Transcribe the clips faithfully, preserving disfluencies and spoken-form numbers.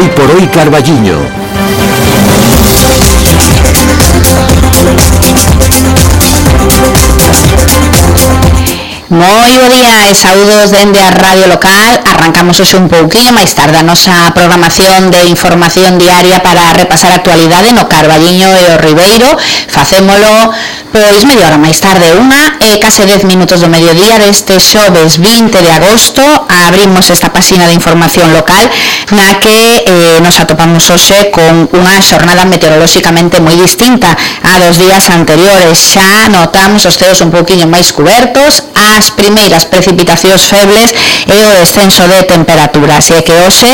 Hoy por hoy Carballiño. Moi bo día e saúdos dende a Radio Local. Arrancamos hoxe un pouquinho máis tarde a nosa programación de información diaria para repasar a actualidade no Carballiño e o Ribeiro. Facémolo pois media hora máis tarde, unha e case dez minutos do mediodía deste xoves vinte de agosto. Abrimos esta páxina de información local na que eh, nos atopamos hoxe con unha xornada meteorolóxicamente moi distinta a dos días anteriores. Xa notamos os ceos un pouquinho máis cubertos, as primeiras precipitacións febles e o descenso de temperaturas, e que hoxe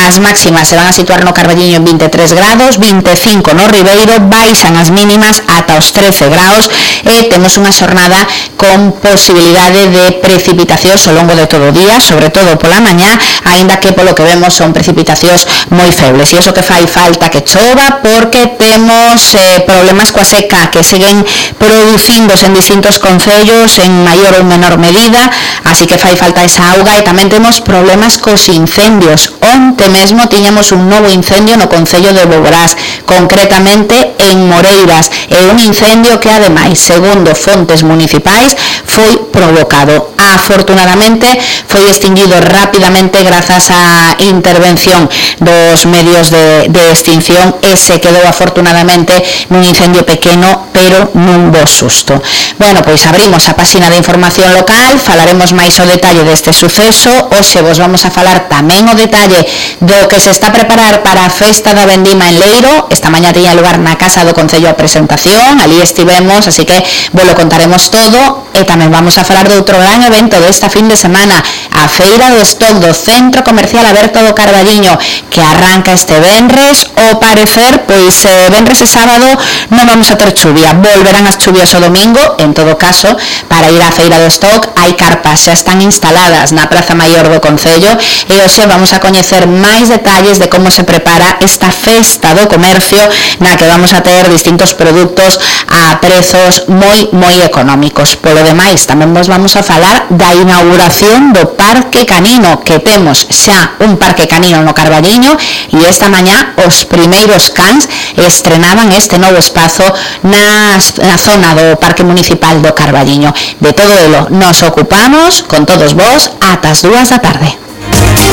as máximas se van a situar no Carballiño en vinte e tres grados, vinte e cinco no Ribeiro, baixan as mínimas ata os trece grados e temos unha xornada con posibilidade de precipitacións ao longo de todo o día, sobre todo pola mañá, aínda que polo que vemos son precipitacións moi febles, e iso que fai falta que chova porque temos eh, problemas coa seca que seguen producíndose en distintos concellos en maior ou menor medida, así que fai falta esa auga. E tamén temos problemas cos incendios. Onte mesmo tiñamos un novo incendio no concello de Boborás, concretamente en Moreiras, e un incendio que ademais, segundo fontes municipais, foi provocado. Afortunadamente foi extinguido rapidamente grazas á intervención dos medios de, de extinción e se quedou afortunadamente nun incendio pequeno pero nun bo susto. Bueno, pois abrimos a páxina de información local, falaremos máis o detalle deste suceso. Hoxe vos vamos a falar tamén o detalle do que se está a preparar para a festa da vendima en Leiro. Esta mañá tiña lugar na Casa do Concello a presentación, ali estivemos, así que vos lo contaremos todo. E tamén vamos a falar de outro gran evento desta fin de semana, a Feira do Stock do Centro Comercial Aberto do Carballiño, que arranca este venres. O parecer, pois eh, venres e sábado non vamos a ter chuvia, volverán as chuvias o domingo. En todo caso, para ir á Feira do Stock hai carpas, xa están instaladas na Praza Maior do Concello, e hoxe vamos a coñecer máis detalles de como se prepara esta festa do comercio, na que vamos a ter distintos produtos a prezos moi, moi económicos. Polo demais, tamén vos vamos a falar da inauguración do Parque Canino, que temos xa un parque canino no Carballiño, e esta mañá os primeiros cans estrenaban este novo espazo na, na zona do Parque Municipal do Carballiño. De todo elo nos ocupamos con todos vos ata as dúas da tarde.